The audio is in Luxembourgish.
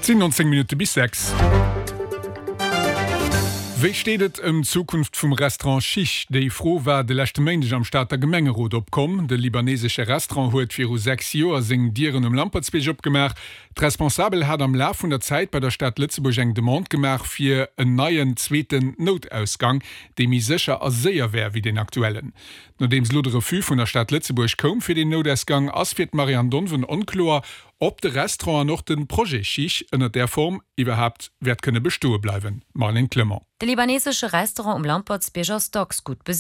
Et sinn 19 Minutte bis 6. Wéi steet et ëm d'Zukunft vum Restaurant Chich? Déi Fro war de leschte Méindeg am Stater Gemengerot opkomm. De libanesesche Restaurant huet viru 6 Joer seng Dieren um Lampertsbierg opgemaach. D'Responsabel hat am Laf vun der Zäit bei der Stad Lëtzebuerg eng Demande gemaach fir en neien zweeten Noutausgang, dee méi sécher a séier wär wéi deen aktuellen. Nodeems elo de Refus vun der Stad Lëtzebuerg koum fir deen Noutausgang, ass fir d'Marianne Donven onkloer, ob de Restaurant an och de Projet Chich ënner där Form iwwerhaapt wäert kënne bestoe bleiwen. Marlène Clement. De libanesesche Restaurant um Lampertsbierg ass dacks gutt besicht.